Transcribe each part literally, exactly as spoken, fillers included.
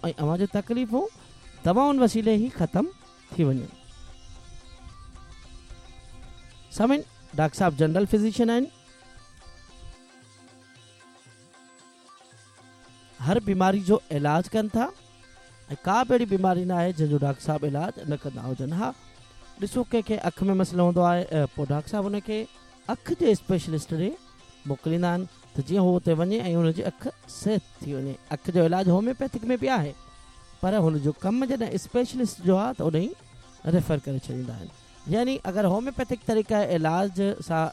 ۽ اوهان جون تڪليفون دوائن وسيلي ئي ختم ٿي وڃن. سامعين، ڊاڪٽر صاحب جنرل فزيشن آهن. هر بيماري جو علاج ڪن ٿا ۽ ڪا به اهڙي بيماري نه آهي جنهن جو ڊاڪٽر صاحب علاج نه ڪندا هجن. ها، ڏسو ڪنهن کي اک ۾ مسئلو هوندو آهي، پوء ڊاڪٽر صاحب ان کي اک جي اسپيشلسٽ ڏي موڪليندا آهن ته جيئن هو اتي وڃي ۽ هن جي اک صحت ٿي وڃي. اک جو علاج هوميوپيٿڪ ۾ به آهي، پر هن جو ڪم جڏهن اسپيشلسٽ جو آهي ته ان ئي ريفر ڪري ڇڏيندا آهن. يعني اگر هوميوپيٿڪ طريقه علاج سان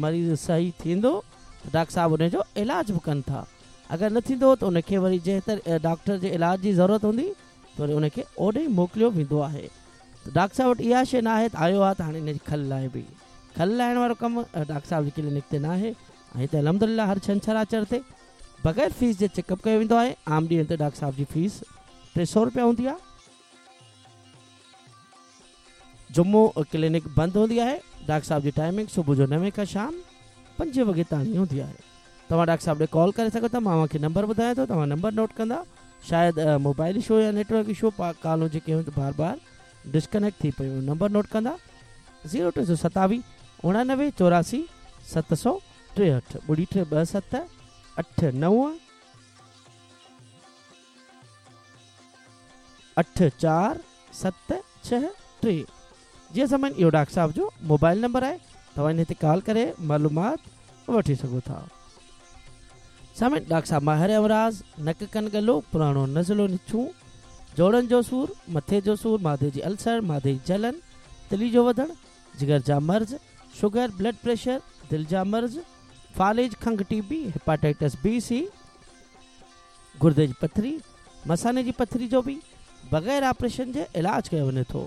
مريض صحيح ٿيندو ته ڊاڪٽر صاحب ان جو علاج به ڪن ٿا، اگر نه ٿيندو ته ان کي وري جنهن ڊاڪٽر جي علاج جي ضرورت هوندي ته وري ان کي اوڏي موڪليو ويندو آهي. ته ڊاڪٽر صاحب وٽ اها شيء نه آهي ته آيو آهي ته هاڻي ان جي کل لاهبي. کل لاهڻ وارو ڪم ڊاڪٽر صاحب جي ڪلينڪ تي نه آهي. ۽ هتي الحمدلله هر ڇنڇر آچر تي بغير فيس جي چيڪ اپ ڪيو ويندو آهي. عام ڏينهن تي ڊاڪٽر صاحب جي فيس ٽي سؤ رپيا هوندي آهي. جمعو ڪلينڪ بند هوندي آهي. ڊاڪٽر صاحب جي ٽائمنگ صبح جو نوين کان شام پنجين وڳي تائين هوندي آهي. توهان ڊاڪٽر صاحب ڏي ڪال ڪري سگهو ٿا. مان اوهان کي نمبر ٻڌايان ٿو، توهان نمبر نوٽ ڪندا. شايد موبائل اشو يا نيٽورڪ اشو ڪالون جيڪي هيون بار بار ڊسڪنيڪٽ ٿي پيون. نمبر نوٽ ڪندا زيرو ٽي سؤ ستاويهه اڻانوي چوراسي ست سؤ ٽيهٺ ٻڙي ٽي ٻه ست اٺ نو اٺ چار ست ڇهه ٽي. جيئن سمن اهو ڊاڪٽر صاحب جو موبائل نمبر آهي. توهان هن تي ڪال ڪري معلومات وٺي سگهو ٿا. سامعين، ڊاڪٽر صاحب ماهر امراض نڪ ڪن ڳلو، پراڻو نزلو نڇون، جوڙن جو سور، مٿي جو سور، مادي جي السر، مادي جي جلن، تلي جو وڌڻ، جگر جا مرض، شگر، بلڊ پريشر، دل جا مرض، فالج، کنگهه، ٽي بي، هيپاٽائٽس بي سي، گردي جي پٿري، مثاني جي پٿري جو به بغير آپريشن جي علاج ڪيو وڃي ٿو.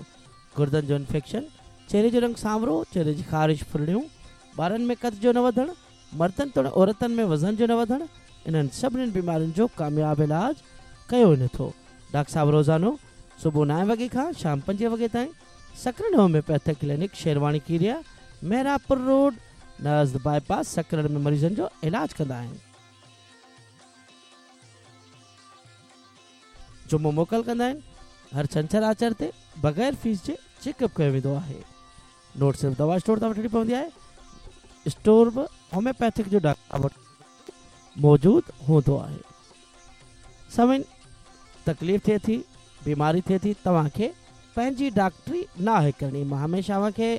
گردن جو انفيڪشن، چهري جو رنگ سانورو، چهري جي خارش، ڦرڙيون، ٻارن ۾ قد جو نه وڌڻ، مردن توڙي عورتن ۾ وزن جو نه وڌڻ، انهن سڀني بيمارين جو ڪامياب علاج ڪيو وڃي ٿو. ڊاڪٽر صاحب روزانو صبح نائين وڳي کان شام پنجين وڳي تائين Sakrand homeopathic clinic, Sherwani Keria, Mehrapur road, نزد باءِ پاس سڪرنڊ ۾ مريضن جو علاج ڪندا آهن. جمعو موڪل ڪندا آهن. هر ڇنڇر آچر تي بغير فيس جي چيڪ اپ ڪيو ويندو آهي. نوٽ صرف دوا اسٽور تان وٺڻي پوندي آهي. اسٽور به هوميوپيٿڪ جو ڊاڪٽر وٽ موجود هوندو آهي. سامعين، تڪليف ٿئي ٿي، بيماري ٿئي ٿي، توهان کي پنهنجي ڊاڪٽري نه آهي ڪرڻي. مان هميشه اوهان کي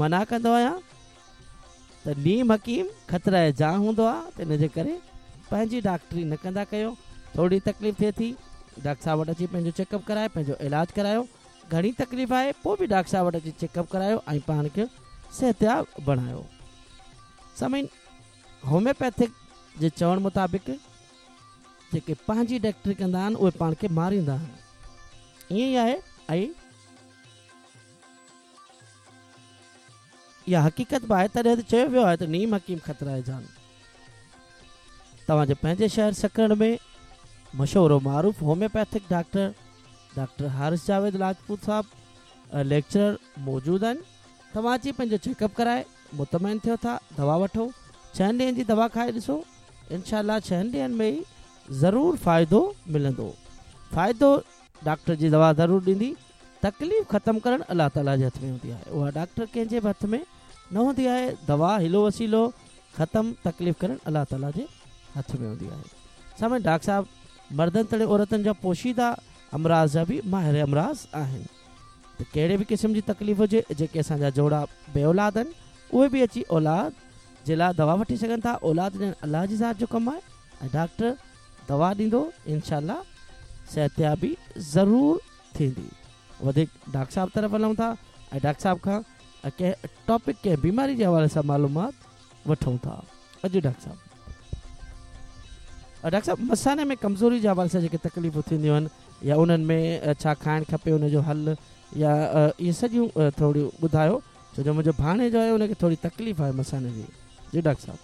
منع ڪندو آهيان ته نيم حڪيم خطره جان هوندو آهي، ته ان جي ڪري پنهنجي ڊاڪٽري نه ڪندا ڪيو. ٿوري تڪليف ٿئي ٿي، ڊاڪٽر صاحب وٽ اچي پنهنجو چيڪ اپ ڪرايو، پنهنجو علاج ڪرايو. گهڻي تڪليف آهي پوءِ به ڊاڪٽر صاحب وٽ اچي چيڪ اپ ڪرايو ۽ پاڻ کي صحتياب بڻايو. سامعين، هوميوپيٿڪ جي چوڻ مطابق جيڪي پنهنجي ڊاڪٽري ڪندا آهن اهي پاڻ کي ماريندا آهن. ائين ئي آهي ۽ اها حقيقت به آهي. تڏهن ته چيو ويو آهي ته نيم حڪيم خطره جان. توهان جي پنهنجي شهر سڪرنڊ ۾ مشهور و معروف homeopathic doctor doctor Haris Javed Rajput صاحب ليڪچرر موجود آهن. توهان اچي پنهنجو چيڪ اپ ڪرائي مطمئن ٿيو ٿا، دوا وٺو، ڇهن ڏينهن جي دوا کائي ڏسو، انشاء الله ڇهن ڏينهن ۾ ئي ضرور فائدو ملندو. فائدو ڊاڪٽر جي دوا ضرور ڏيندي. تڪليف ختم ڪرڻ الله تعاليٰ جي هٿ ۾ هوندي آهي، اها ڊاڪٽر ڪنهن جي به هٿ ۾ نه هوندي آهي. دوا هلو وسيلو ختم تڪليف ڪرڻ الله تعاليٰ جي هٿ ۾ هوندي آهي. سامعين، ڊاڪٽر صاحب مردن توڙي عورتن جا پوشيده امراض جا به ماهر امراض آهن. ته ڪهڙي به قسم جي تڪليف هجي، جيڪي اسان جا جوڙا بي اولاد آهن اهي به اچي اولاد جي لاءِ دوا وٺي سگهن ٿا. اولاد ڏيڻ الله جي ذات جو ڪم آهي ۽ ڊاڪٽر دوا ڏيندو، انشاء الله صحتيابي ضرور ٿيندي. وڌيڪ ڊاڪٽر صاحب طرف هلون ٿا ۽ ڊاڪٽر صاحب کان ڪنهن ٽاپڪ، ڪنهن بيماري جي حوالي سان معلومات وٺون ٿا. اڄ ڊاڪٽر صاحب، ڊاڪٽر صاحب مثاني ۾ ڪمزوري جي حوالي سان جيڪي تڪليفون ٿينديون آهن يا انهن ۾ ڇا کائڻ کپي، ان جو حل يا اهي سڄيون ٿوريون ٻڌايو، ڇو جو منهنجو ڀاڻيجو آهي ان کي ٿوري تڪليف آهي مثاني جي. جي ڊاڪٽر صاحب.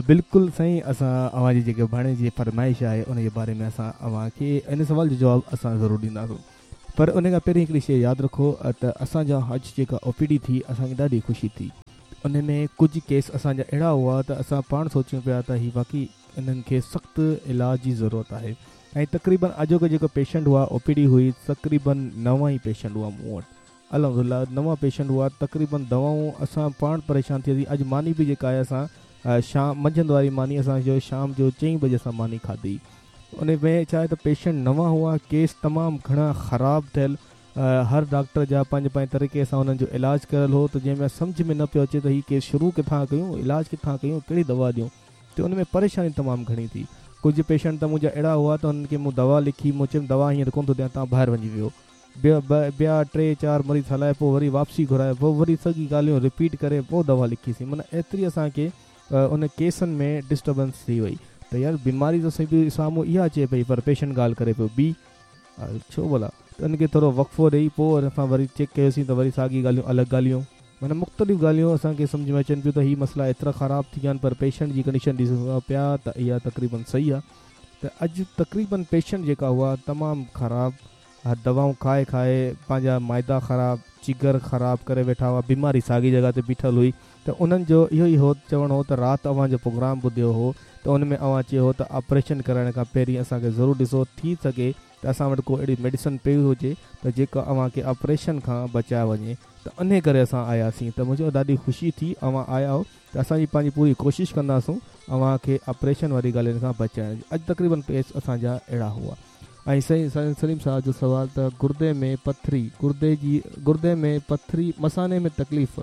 بلڪل سائين، اسان اوهان جي جيڪي ڀاڻيجي جي فرمائش آهي ان جي باري ۾ اسان اوهان کي ان سوال جو جواب اسان ضرور ڏينداسون. پر ان کان پهرين هڪڙي شيءِ ياد رکو ته اسان جا اڄ جيڪا او پي ڊي ٿي اسان کي ڏاڍي خوشي ٿي. ان ۾ ڪجهه ڪيس اسان جا اهڙا هئا ته اسان پاڻ سوچيون پيا ته هي واقعي انهن کي سخت علاج جي ضرورت آهي. ۽ تقريبن اڄوڪو جيڪو پيشنٽ هئا او پي ڊي هئي تقريبن نو ئي پيشنٽ هئا مون وٽ، الحمدلله نو پيشنٽ هئا. تقريبن دوائون اسان پاڻ پريشان ٿي وياسين. اڄ ماني به جيڪا آهي اسان شام منجهند واري ماني اسان جو شام جو چئين بجي اسان ماني کاڌي. ان ۾ ڇا آهي ته پيشنٽ نوان هئا، ڪيس تمام گهڻا خراب ٿيل، هر ڊاڪٽر جا پنهنجي پنهنجي طريقي سان انهن جو علاج ڪيل هو ته جنهن ۾ سمجهه ۾ نه پيو اچي ته هي ڪيس شروع ڪٿان ڪيون، علاج ڪٿان ڪيون، ڪهڙي دوا ڏيون، ته ان ۾ پريشاني تمام گهڻي ٿي. ڪجهه پيشنٽ ته منهنجا اهڙا هئا ته انهن کي مون دوا لکي، مون چيم دوا هينئر ڪونه ٿو ڏيان، توهان ٻاهر وڃي ويو. ٻيا ٽي چار مريض هلائي پوءِ وري واپسي گهرائي پوءِ وري سڄي ڳالهيون رپيٽ ڪري پوءِ دوا لکيسين. معنيٰ ايتري اسان کي ان ڪيسن ۾ ڊسٽربنس ٿي وئي ته يار بيماري ته صحيح سامهون اها اچي پئي پر پيشنٽ ڳالهه ڪري پيو ٻي، ڇو ڀلا؟ ته ان کي ٿورو وقفو ڏيئي پوءِ اسان وري چيڪ ڪيوسين ته وري ساڳي ڳالهيون الڳ ڳالهيون، معنيٰ مختلف ڳالهيون اسان کي سمجهه ۾ اچن پيون ته هي مسئلا ايترا خراب ٿي ويا آهن پر پيشنٽ جي ڪنڊيشن ڏسون پيا ته اها تقريبن صحيح آهي. ته اڄ تقريبن پيشنٽ جيڪا هئا تمام خراب، دوائون کائي کائي پنهنجا مائدا خراب، جگر خراب ڪري ويٺا هئا، بيماري ساڳي جڳهه تي بيٺل هئي. ته انهن جو اهو ئي هو چوڻ هو ته رات اوهان جو پروگرام ٻڌيو هو ته ان ۾ اوهان چيو هو ته آپريشن ڪرائڻ کان پهرين اسان کي ضرور ڏسو، ٿي سگهي ته اسان وٽ ڪو اهڙي ميڊيسن پئي هجي ته جيڪا اوهان کي آپريشن کان بچائي وڃي، ته ان ڪري اسان آياسين. ته منهنجو ڏاڍي خوشي ٿي اوهان آيا آهيو ته اسان جي پنهنجي پوري ڪوشش ڪنداسون اوهان کي آپريشن واري ڳالهين کان بچائڻ جي. اڄ تقريبن ڪيس اسان جا اهڙا هئا. ۽ سائين سليم صاحب جو سوال ته گردي ۾ پٿري، گردي جي گردي ۾ پٿري، مثاني ۾ تڪليف،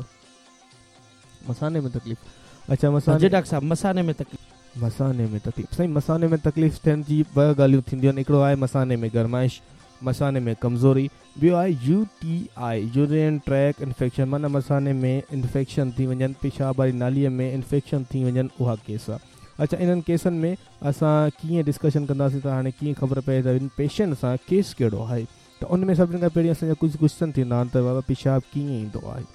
مثاني ۾ تڪليف. اڇا مثاني جي ڊاڪٽر صاحب مثاني ۾ تڪليف، مثاني ۾ تڪليف. سائين مثاني ۾ تڪليف ٿيڻ جي ٻه ڳالهيون ٿينديون آهن، هڪڙو آهي مثاني ۾ گرمائش، مثاني ۾ ڪمزوري، ٻيو آهي U T I urine tract infection, معنيٰ مثاني ۾ انفيڪشن ٿي وڃن، پيشاب واري ناليءَ ۾ انفيڪشن ٿي وڃن، اها ڪيس آهي. اڇا انهن ڪيسن ۾ اسان ڪيئن ڊسڪشن ڪنداسين ته هاڻي ڪيئن خبر پئي ته ان پيشنٽ سان ڪيس ڪهڙو آهي؟ ته ان ۾ سڀني کان پهرين اسان جا ڪجهه ڪوئسچن ٿيندا آهن ته بابا پيشاب ڪيئن ايندو آهي؟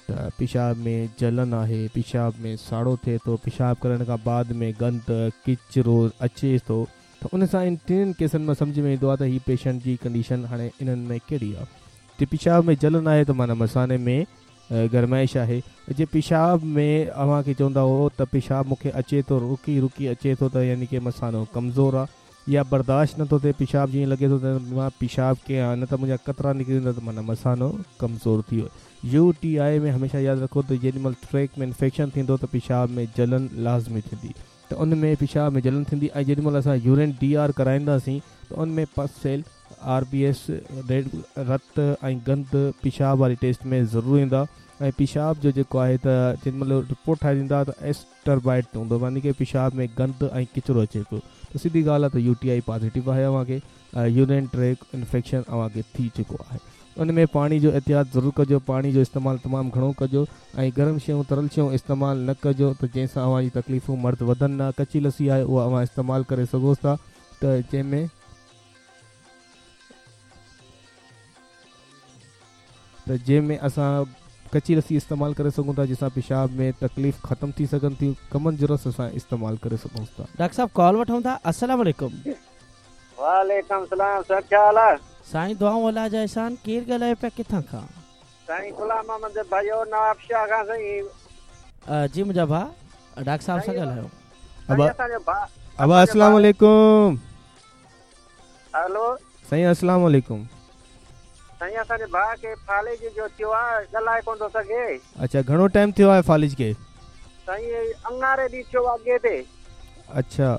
ته پيشاب ۾ جلن آهي، پيشاب ۾ ساڙو ٿئي ٿو، پيشاب ڪرڻ کان بعد ۾ گند ڪچرو اچي ٿو. ته ان سان ان ٽنهن ڪيسن مان سمجهه ۾ ايندو آهي ته هي پيشنٽ جي ڪنڊيشن هاڻي انهن ۾ ڪهڙي آهي. ته پيشاب ۾ جلن آهي ته معنيٰ مثاني ۾ گرمائش آهي. جي پيشاب ۾ اوهان کي چوندا هو ته پيشاب مون کي اچي ٿو، رڪي رڪي اچي ٿو، ته يعني ڪه مثانو ڪمزور آهي يا برداشت نٿو ٿئي، پيشاب جيئن لڳي ٿو ته مان پيشاب ڪيان نه ته منهنجا قطرا نڪري ويندا، ته معنيٰ مثانو ڪمزور ٿي ويو. يو ٽي I ۾ هميشه ياد رکو ته جيڏي مهل ٽريڪ ۾ انفيڪشن ٿيندو ته پيشاب ۾ جلن لازمي ٿيندي، ته ان ۾ پيشاب ۾ جلن ٿيندي. ۽ جيڏي مهل اسان يورين ڊي آر ڪرائينداسين ته ان ۾ pus cell, R B S, red رت ۽ گند پيشاب واري ٽيسٽ ۾ ضرور ايندا. ۽ پيشاب جو جيڪو آهي ته جيڏي مهل رپورٽ ٺاهي ڏيندا ته ايسٽربائيٽ هوندو، يعني ڪه پيشاب ۾ گند ۽ ڪچرو اچي پيو. ته سڌي ڳالهه آهي ته يو ٽي I positive آهي، اوهان کي يورين ٽريڪ انفيڪشن اوهان کي ٿي چڪو آهي. ان ۾ پاڻي جو احتياط ضرور ڪجو، پاڻي جو استعمال تمام گهڻو ڪجو ۽ گرم شيون ترل شيون استعمال نه ڪجو ته جنهن سان اوهان جي تڪليفون مرض وڌن نه. ڪچي لسي آهي اها اوهان استعمال ڪري سگهو ٿا ته جنهن ۾ ته جنهن ۾ اسان ڪچي لسي استعمال ڪري سگهون ٿا جنهن سان پيشاب ۾ تڪليف ختم ٿي سگهن ٿيون. ڪمن جو رس اسان استعمال ڪري سگهون ٿا. ڊاڪٽر صاحب ڪال وٺون ٿا. السلام عليڪم. وعليڪم سلام سر، ڇا حال آهي؟ سائين دعائون الله جا احسان. ڪير ڳالهائي پيا، ڪٿان کان؟ سائين غلام محمد ڀائيو نواب شاهه کان. سائين جي منهنجا ڀاءُ ڊاڪٽر صاحب سان ڳالهايو. ابا السلام عليڪم. هيلو سائين السلام عليڪم. سائين اسان جي ڀاءُ کي فالج جو ٿيو آهي، ڳالهائي ڪونه ٿو سگهي. اڇا گهڻو ٽائيم ٿيو آهي فالج کي؟ سائين اڱاري ڏينهن ٿيو آهي اڳي تي. اڇا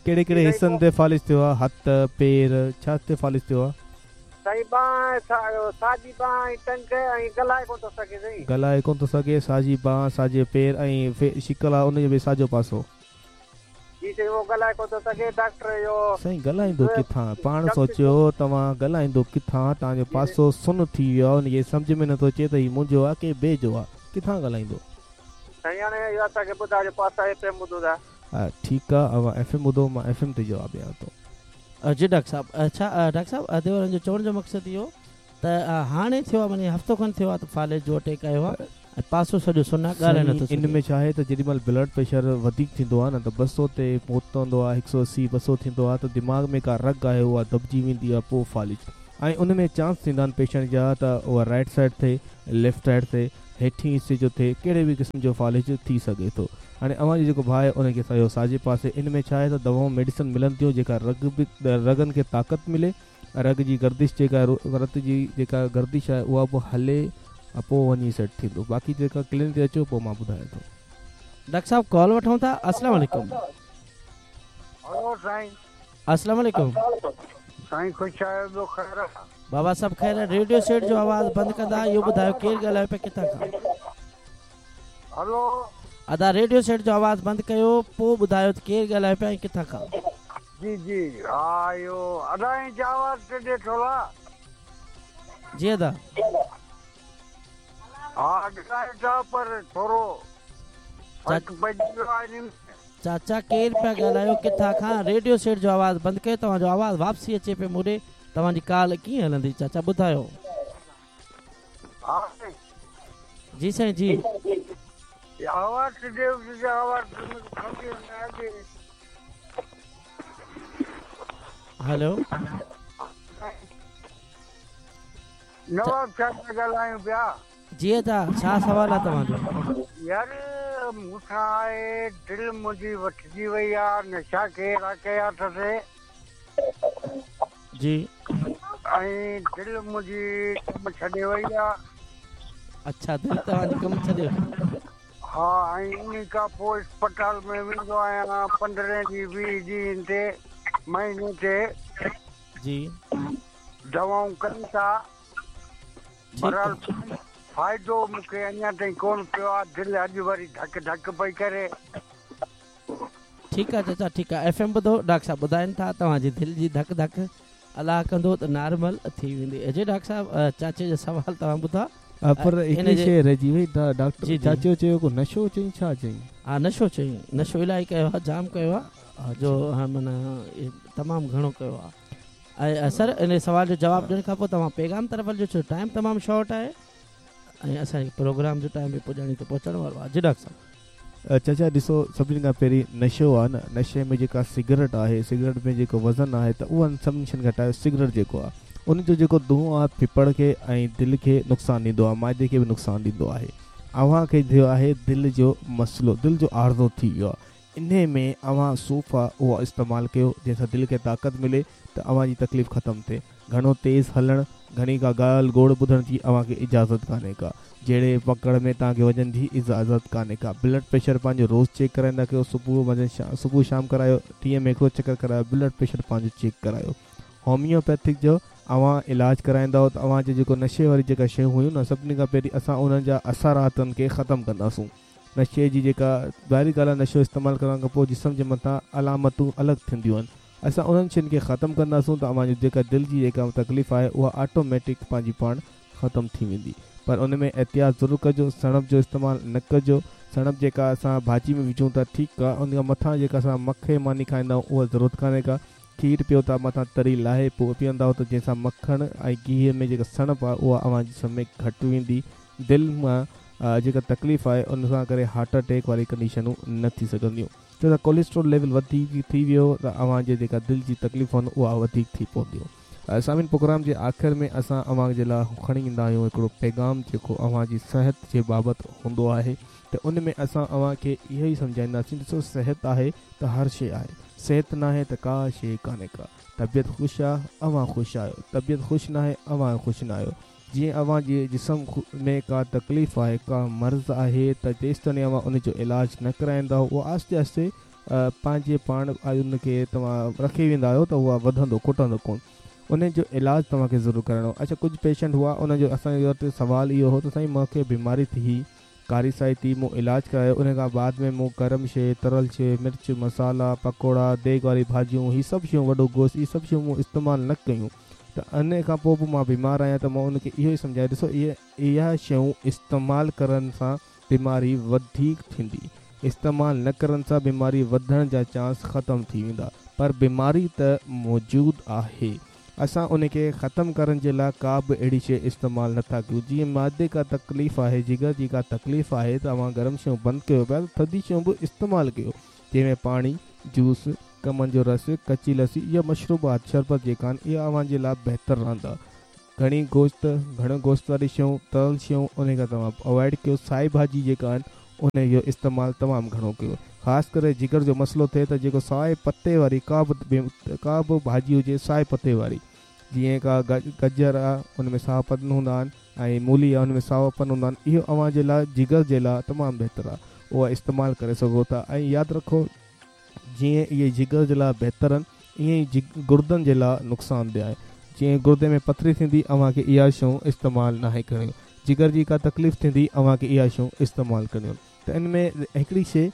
ڪهڙي ڪهڙي حصن تي فالج ٿيو آهي؟ هٿ، پير، ڇا تي فالج ٿيو آهي؟ سائين ٻانهن، ساڄي ٻانهن ۽ ٽنگ ۽ ڳالهائي ڪونه ٿو سگهي. سائين ڳالهائي ڪونه ٿو سگهي، ساڄي ٻانهن، ساڄي پير ۽ شڪل آهي ان جو به ساڄو پاسو. جي سائين اهو ڳالهائي ڪونه ٿو سگهي ڊاڪٽر اهو. سائين ڳالهائيندو ڪٿان؟ پاڻ سوچيو توهان ڳالهائيندو ڪٿان؟ توهان جو پاسو سن ٿي ويو آهي، ان کي سمجهه ۾ نٿو اچي ته هي منهنجو آهي ڪي ٻئي جو آهي، ڪٿان ڳالهائيندو؟ سائين هاڻي اهو اسان کي ٻڌايو پوءِ اسان ايف ايم ٻڌون ٿا. ها ٺيڪ آهي، اوهان ايف ايم ٻڌو، مان ايف ايم تي جواب ڏيان ٿو. جي ڊاڪٽر صاحب. اڇا ڊاڪٽر صاحب اديورن جو چوڻ جو مقصد اهو ته هاڻي ٿيو آهي، معنيٰ هفتو کن ٿيو آهي ته فالج جو اٽيڪ آيو آهي ۽ پاسو سڄو سن آهي، ڳالهائي نٿو سگهي. ان ۾ ڇا آهي ته جيڏي مهل بلڊ پريشر وڌيڪ ٿيندو آهي نه ته ٻه سؤ تي پهتندو آهي، هڪ سؤ اسي ٻه سؤ ٿيندو آهي ته دماغ ۾ ڪا رڳ آهي اها دٻجي ويندي آهي، پوءِ فالج. ۽ ان ۾ چانس ٿيندا آهن پيشنٽ جا ته اها رائيٽ سائيڊ ٿئي، ليفٽ سائيڊ ٿئي، हेठी हिसे जो थिए, कहिड़े बि क़िस्म जो फ़ालिज थी सघे थो। हाणे अव्हांजो जेको भाउ आहे उनखे असांजो साॼे पासे इन में छा आहे त दवाऊं मेडिसिन मिलनि थियूं जेका रग बि रगनि खे ताक़त मिले, रग जी गर्दिश जेका रत जी जेका गर्दिश आहे उहा बि हले, पोइ वञी सेट थींदो। बाक़ी जेका क्लिनिक ते अचो पोइ मां ॿुधायां थो। डॉक्टर साहब कॉल वठूं था। अस्सलाम वालेकुम। हेलो साईं। अस्सलाम वालेकुम साईं, ख़ुशि आहियो? ॿियो ख़ैर आहे? बाबा साहब ख़ैर आहे। रेडियो सेट जो आवाज़ बंदि कंदा, इहो ॿुधायो केरु ॻाल्हायो पिया, किथां खां? हेलो अदा, रेडियो सेट जो आवाज़ बंदि कयो, पोइ ॿुधायो त केरु ॻाल्हायो पिया ऐं किथां खां? जी जी हा, इहो अदा जो आवाज़ टे थोरा। जी अदा। हा ॻाल्हायो था, पर थोरो फ़र्क़ु पइजी वियो आहे। चाचा केरु पिया ॻाल्हायो, किथां खां? रेडियो सेट जो आवाज़ बंदि कयो, तव्हांजो आवाज़ वापसि अचे पियो मूं ॾे, तव्हांजी कॉल कीअं हलंदी? चाचा ॿुधायो। जी साईं जी। आवाज़ आवाज़ हेलो नवाब साहब ॻाल्हायूं पिया। जी अदा, छा सवाल आहे तव्हांजो? यार मूंसां आहे दिलि मुंहिंजी वठिजी वई आहे, नशा कहिड़ा कया अथसि जी, ऐं दिलि मुंहिंजी कमु छॾे वई आहे। अच्छा, दिलि तव्हांजी कमु छॾे? हा, ऐं उन खां पोइ अस्पताल में वेंदो आहियां पंद्रहं ॾींहं वीह ॾींहं ते महीने ते जी, दवाऊं कनि था, बहरहाल फ़ाइदो मूंखे अञा ताईं कोन पियो आहे। दिलि अॼु वरी धक धक पई करे। ठीकु आहे चाचा, ठीकु आहे। एफ एम ॿुधो, डॉक्टर साहब ॿुधाइनि था तव्हांजी दिलि जी धक धक अलाह कंदो त नॉर्मल थी वेंदी। जी डॉक्टर साहब, चाचे जो सवाल तव्हां ॿुधा, पर हिकिड़ी शइ रहिजी वई डॉक्टर। चाचो चयो को नशो चई, छा चई? हा नशो चई, नशो इलाही कयो आहे, जाम कयो आहे, जो हा माना तमामु घणो कयो आहे। ऐं सर इन सवाल जो जवाबु ॾियण खां पोइ तव्हां पैगाम तरफ़ हलिजो, छो टाइम तमामु शॉर्ट आहे ऐं असांजे प्रोग्राम जो टाइम बि पुॼाणी ते पहुचण वारो आहे। जी डॉक्टर साहब। चाचा ॾिसो, सभिनी खां पहिरीं नशो आहे न, नशे में जेका सिगरेट आहे, सिगरेट में जेको वज़न आहे त उहो सभिनी शयुनि घटायो। सिगरेट जेको आहे उनजो जेको धुआं आहे फेफड़ खे ऐं दिलि खे नुक़सानु ॾींदो आहे, माइदे खे बि नुक़सानु ॾींदो आहे। अव्हां खे थियो आहे दिलि जो मसइलो, दिलि जो आर्ज़ो थी वियो आहे। इन में अव्हां सूफ़ आहे उहो इस्तेमालु कयो जंहिंसां दिलि खे ताक़त मिले त अव्हांजी तकलीफ़ ख़तमु थिए। घणो तेज़ हलणु, घणी का ॻाल्हि गोड़ ॿुधण जी अव्हांखे इजाज़त कान्हे का, जहिड़े पकड़ में तव्हांखे वञण जी इजाज़त कान्हे का। ब्लड प्रेशर पंहिंजो रोज़ चेक कराईंदा कयो, सुबुह वञण सुबुह शाम करायो, ॾींहं में हिकिड़ो चक्कर करायो, ब्लड प्रेशर पंहिंजो चेक करायो। होमियोपैथिक जो अव्हां इलाज कराईंदव त अव्हांजो जेको नशे वारी जेका शयूं हुयूं न, सभिनी खां पहिरीं असां उन्हनि जा असरातनि खे ख़तमु कंदासूं। नशे जी जेका ॿाहिरीं ॻाल्हि आहे, नशो इस्तेमालु करण खां पोइ जिस्म जे मथां अलामतूं अलॻि थींदियूं आहिनि, असां उन्हनि शयुनि खे ख़तमु कंदासूं त अव्हांजी जेका दिलि जी जेका तकलीफ़ आहे उहा ऑटोमेटिक पंहिंजी पाण ख़तमु थी वेंदी। पर उन में एहतियात ज़रूरु कजो, सणप जो इस्तेमालु न कजो। सणप जेका असां भाॼी में विझूं था ठीकु आहे, उन खां मथां जेका असां मखे मानी खाईंदा आहियूं उहा ज़रूरत कान्हे का। खीर पियो था मथां तरी लाहे पोइ पीअंदा त जंहिंसां मखण ऐं घीअ में जेका सणप आहे उहा अव्हां जिस्म में घटि वेंदी। दिलि मां जेका तकलीफ़ आहे उन सां करे हार्ट अटैक वारी कंडीशनूं न थी सघंदियूं। छो त कोलेस्ट्रॉल लेवल वधीक थी वियो त अव्हांजे जेका दिलि जी तकलीफ़ आहिनि उहा वधीक थी पवंदियूं। सामिन, प्रोग्राम जे आख़िर में असां अव्हां जे लाइ खणी ईंदा आहियूं हिकिड़ो पैगाम जेको अव्हांजी सिहत जे बाबति हूंदो आहे, त उन में असां अव्हांखे इहो ई सम्झाईंदासीं, ॾिसो सिहत आहे त हर शइ आहे, सिहत न आहे त का शइ कान्हे का। तबियत ख़ुशि आहे अव्हां ख़ुशि आहियो, तबियत ख़ुशि न आहे अव्हां ख़ुशि न आहियो। जीअं अव्हांजे जिस्म में का तकलीफ़ आहे, का मर्ज़ आहे, त जेसि ताईं अव्हां उनजो इलाज न कराईंदा उहो आहिस्ते आहिस्ते पंहिंजे पाण उनखे तव्हां रखी वेंदा आहियो त उहा वधंदो कुटंदो कोन। उन जो इलाज तव्हांखे ज़रूरु कराइणो। अच्छा, कुझु पेशेंट हुआ उनजो असांजे वटि सवालु इहो हो त साईं मूंखे बीमारी थी, कारी साई थी, मूं इलाज करायो, उन खां बाद में मूं गरम शइ, तरल शइ, मिर्च मसाला, पकौड़ा, देग वारी भाॼियूं, हीअ सभु शयूं, वॾो गोश्त, इहे सभु शयूं मूं इस्तेमालु न कयूं, त इन खां पोइ बि मां बीमार आहियां। त मां उनखे इहो ई सम्झायो, ॾिसो इहे इहा शयूं इस्तेमालु करण सां बीमारी वधीक थींदी, इस्तेमालु न करण सां बीमारी वधण जा चांस ख़तमु थी वेंदा, पर बीमारी त मौजूदु आहे। असां उनखे ख़तमु करण जे लाइ का बि अहिड़ी शइ इस्तेमालु नथा कयूं। जीअं मादे का तकलीफ़ आहे, जिगर जी का तकलीफ़ आहे, त तव्हां गरम शयूं बंदि कयो पिया, थधी शयूं बि इस्तेमालु कयो, जंहिंमें पाणी, जूस, कमनि जो रस, कच्ची लस्सी या मशरूबात, शरबत जेका आहिनि, इहा अव्हांजे लाइ बहितर रहंदा। گهڻي گوشت، گهڻو گوشت واري شيون، تريل شيون ان کان توهان اوائڊ ڪيو. سائي ڀاڄي جيڪا آهن ان جو استعمال تمام گهڻو ڪيو. خاص ڪري جگر جو مسئلو ٿئي ته جيڪو سائي پتي واري ڪا به ڪا به ڀاڄي هجي سائي پتي واري، جيئن ڪا گجر آهي ان ۾ ساوا پن هوندا آهن ۽ مولي آهي ان ۾ ساوا پن هوندا آهن، اهو اوهان جي لاءِ جگر جي لاءِ تمام بهتر آهي، اها استعمال ڪري سگهو ٿا. ۽ ياد رکو جيئن اهي جگر جي لاءِ بهتر آهن ائين ئي گردن جي لاءِ نقصاندهه آهي. جيئن گردي ۾ پٿري ٿيندي اوهان کي اها شيون استعمال ناهي ڪرڻيون، جگر جي ڪا تڪليف ٿيندي اوهان کي اها شيون استعمال ڪرڻيون. ته ان ۾ هڪڙي شيءِ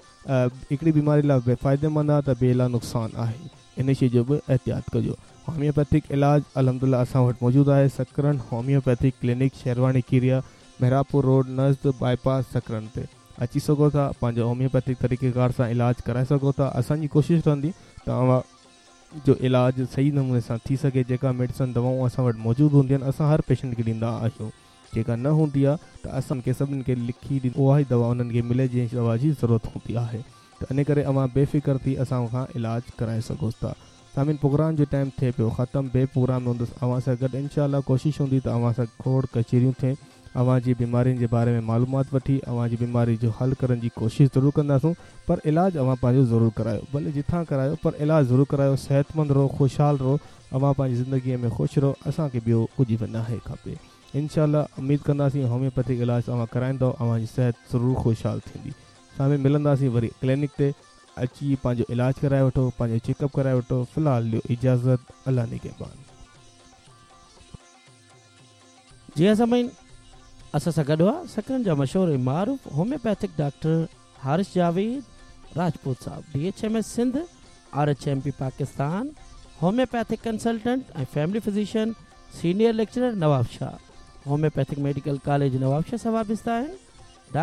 هڪڙي بيماري لاءِ فائديمند آهي ته ٻئي لاءِ نقصان آهي، ان شيءِ جو به احتياط ڪجو. هوميوپيٿڪ علاج الحمدلله اسان وٽ موجود آهي. Sakrand homeopathic clinic, Sherwani Keria, Mehrabpur road, نزد باءِ پاس سڪرنڊ تي اچي سگهو ٿا. پنهنجو هوميوپيٿڪ طريقيڪار سان علاج ڪرائي سگهو ٿا. اسان جي ڪوشش رهندي ته اوهان جو علاج صحيح نموني سان ٿي سگهي. جيڪا ميڊيسن دوائون اسان وٽ موجود هونديون آهن اسان هر پيشنٽ کي ڏيندا آهيون. جيڪا نه هوندي آهي ته اسان کي سڀني کي لکي ڏيندي اها ئي دوا انهن کي ملي جنهن دوا جي ضرورت هوندي آهي. ته ان ڪري اوهان بي فڪر ٿي اسان کان علاج ڪرائي سگهو ٿا. سامعين پروگرام جو ٽائيم ٿئي پيو ختم، ٻئي پروگرام ۾ هوندس اوهان سان گڏ انشاء الله. ڪوشش هوندي ته اوهان سان کوڙ ڪچهريون ٿئي، اوهان جي بيمارين جي باري ۾ معلومات وٺي اوهان جي بيماري جو حل ڪرڻ جي ڪوشش ضرور ڪنداسون. پر علاج اوهان پنهنجو ضرور ڪرايو، ڀلي جتان ڪرايو پر علاج ضرور ڪرايو. صحتمند رهو، خوشحال رهو، اوهان پنهنجي زندگيءَ ۾ خوش رهو. اسان کي ٻيو ڪجهه به ناهي کپي. انشاء الله اميد ڪنداسين هوميوپيٿڪ علاج اوهان ڪرائيندؤ، اوهان جي صحت ضرور خوشحال ٿيندي. سامهون ملنداسين وري ڪلينڪ تي، اچي پنهنجو علاج ڪرائي وٺو، پنهنجو چيڪ اپ ڪرائي وٺو. في الحال ڏيو اجازت، الله نگهبان. جي ها سامعين، اسان سان گڏ هئا سڪرنڊ جا مشهور ۽ معروف هوميوپيٿڪ ڊاڪٽر حارث جاويد راجپوت صاحب، D H M S Sindh, R H M P Pakistan, homeopathic consultant ۽ family physician, senior lecturer Nawabshah, homeopathic medical college Nawabshah سان وابسته آهن.